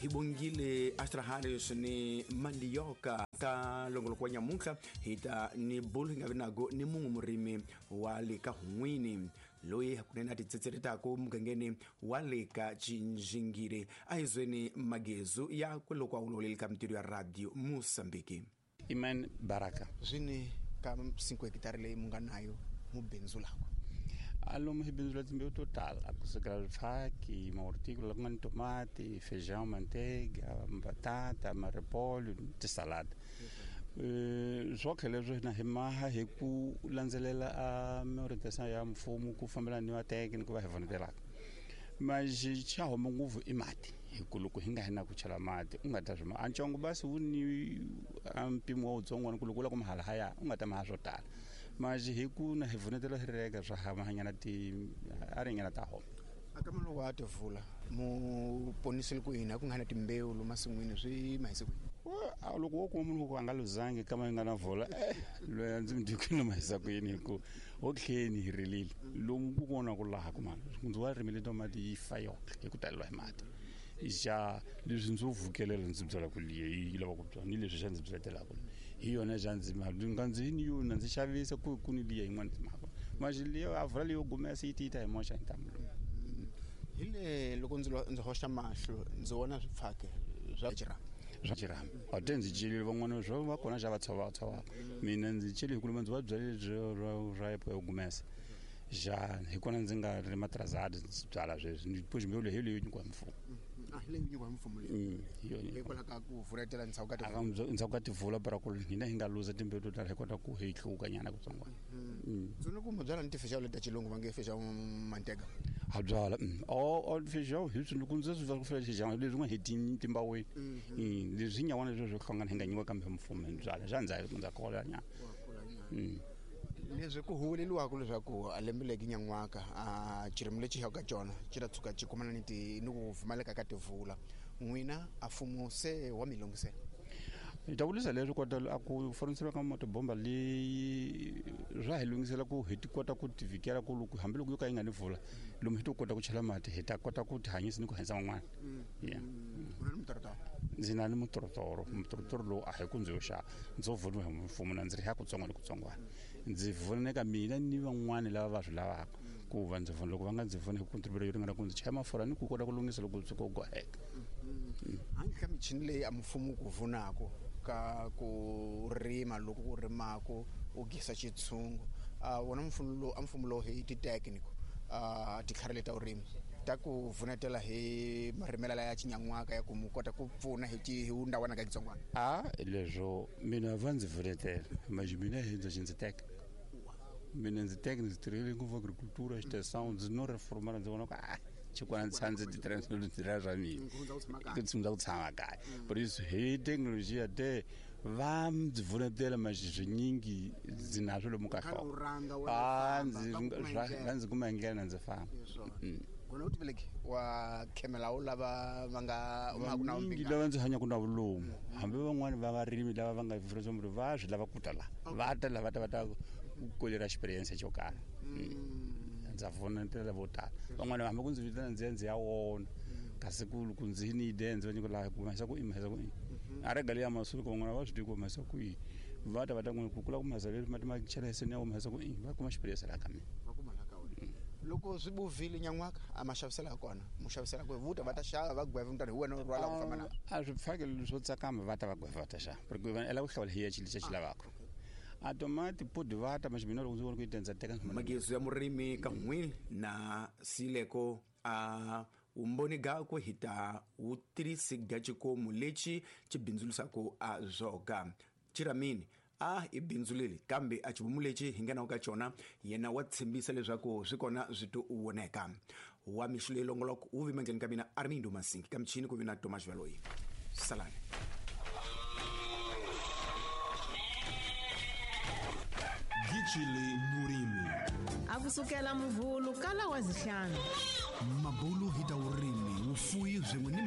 Hi bongile Astra Harris ni Mandioka ka longoloko wa nyamuntlha hi ta ni bulu hi nga vi nago ni mun'we murimi wa le ka Hun'wini loyi hakunene a titsetseretaka mugangeni wa le ka Cinjingile. A hi zweni magezu ya kweloko a wuloleli ka mintirho ya Radio Mosambiki. Iman Baraka. Zwini ka 5 hekitari leyi mu nga nayo mu bindzulaka? Alomu hi bindzula timbewu to tala kusukela swifaki, mahorticola ku nga ni tomati, feijão, manteiga, batata, marepolho, tisalada. Swo tlhela leswi na hi maha hi ku landzelela a miorientation ya mfumo ku fambelana ni vateki ni ku va hi vonetelaka. Mas xa huma ngopfu i mati, hi ku loko hi nga hi na ku chela mati u nga ta swi a ntsongo basi wu ni a mpimo wa wutsongwana ku loko u lava ku mahala haya u nga ta maha swo tala. Mas hi ku na hi vonetela hi reka swa hamahanyana ti a ringana ta homa. Aka mano wa tivula mu ponisile ku yini a ku nga na timbewu lomu masin'wini swi mahise ku yini? A loko wo kuma munhu ku a nga luzangi kama yi nga na vula, loyi a ndzi mi tivi ku ni mahisa ku yini hi ku ho tlheni hi rilile lomu ku vona ku laha ku mani ndzi wa rimile tomati yi fa yoxe hi ku taleriwa hi mati. Xa leswi ndzi vukelela ndzi byala ku liya yi lava ku byala ni leswi xa ndzi byaletelaka hi yona xa ndzi ma nga ndzi ni yona ndzi xavisa ku ku ni liya yin'wana ndzi mhaka manje liya a vula leyo gumesa yi ti ta hi moxa hi ntamu lowu. Hi le loko ndzi ndzi hoxa mahlo ndzi vona swipfhake swa xirhami. Swa xirhami a te ndzi celile van'wana swo va kona xa va tshova tshovaka mina ndzi cele hi ku ndzi va byalile ra yo gumesa. Ja hi kona ndzi nga ri matrazadi ndzi byala sweswi ni push mbewu leyi leyi nyikiwa hi mfumo. A hi leyi nyikiwa hi mfumo leyi. Hi yona. Hikwalaho ka ku vuletela ndzhaku ka tivula. Ndzhaku ka tivula para ku hina hi nga luza timbewu to tala hi kota ku hi hluka nyana kutsongwana. Ndzi vona ku mu byala ni tifeijão leti ta xilungu va nge feijão mantega. Ha byala. O feijão hi swi loko ndzi swi va ku fela feijão leswi nga hi timbaweni. Leswi nyawana leswi swo hlangana hi nga nyikiwa kambe mfumo hi byala. Xa ndza kola nyana. Leswi ku huweleliwaka leswaku a lembe leki nyan'waka a xirimi lexi hi ka xona xi ta tshuka xi kumana ni ti ni ku pfumaleka ka tivula n'wina a mfumo se wa mi lunghisela. Hi ta vurisa leswi kota a ku foriseriwa ka motobomba leyi swa hi lunghisela ku hi ti kota ku tivikela ku loko hambiloko yo ka yi nga ni vula lomu hi to kota ku chela mati hi ta kota ku tihanyisa ni ku hanyisa van'wana. Yeah. U na ni mutorotoro? Ndzi na ni mutorotoro. Mutorotoro lowu a hi ku ndzi yo xava ndzo voniwa hi mfumo na ndzi ri ya kutsongo ni kutsongwana. Ndzi voneka mina ni van'wani lava va swi lavaka ku va ndzi vona loko va nga ndzi voni hi contribute yo ringana ku ndzi chaya mafurha ni ku kota ku lunghisa loko tshuka u goheka. Handle ka michini leyi a mfumo ku vunako ka ku rima loko ku rimako u gisa xitshungu a wona mfumo lowu a mfumo lowu hi ti-technical a titlhari leta vurimi ta ku vunetela hi marimelo ya xinyan'waka ya ku mu kota ku pfuna hi hi ndawana ka xitsongwana. A leswo mina va ndzi vunetela manje mina hi ndzi ndzi teka mina ndzi teka ndzi tirhele ngopfu agricultura extension ndzi no reformela ndzi vona ku a xikwana ndzi tshama ndzi ti tirhela ndzi tirhela swa mina ku tshama ku tshama kaya. Por isso hi teknolojiya te va ndzi vunetela manje swinyingi ndzi na swo lomu ka nhloko. A ndzi va ndzi kuma hi ndlela ndzi famba. Kona u tiveleki wa khemela wu lava va nga mingi lava ndzi hanyaka na vulomu hambi van'wani va varimi lava va nga furisa va swi lava ku ta la va ta la va ta va ta kolera experience xo karhi. Ndza vonetela vo tala van'wani hambi ku ndzi vitana ndzi ya ndzi ya wona kasi ku loko ndzi ni ide ndzi va nyika laha ku mahisa ku i mahisa ku i a rega leya masuku van'wana va swi tivi ku mahisa ku i va ta va ta n'wi ku kula ku mahisa leswi mati ma chela hi ya mahisa ku i va kuma experience la ka mina. Va kuma la ka wena. Loko swi buvile nyan'waka a ma xavisela kona mu xavisela ku vuta va ta xava va gweva mutani hi wena u rhwala ku famba na. A swi pfakelo swo tsakama va ta va gweva va ta xava porque va ela ku hlawula hi ya xilo lexi xi lavaka. A tomati podi va ta manje mina loko ndzi vona ku yi tendza teka magezu ya murimi ka n'wini na sileko a umboni gakwe hi ta wu tirhisi ga xikomu lexi xi bindzulisaka a zwoga chiramini a i bindzu leri kambe a xivomu lexi hi nga na ka xona yena wa tshembisa leswaku swi kona swi to voneka. Wa mixo leyi longoloko wu vi mandleni ka mina Armindo Masingi ka michini ku vi na Thomas Valoyi. Salani. Gicile Murimi. A kusukela muvhulu kala wa zihlanu. Mabulu hi ta vurimi vufuyi byin'we ni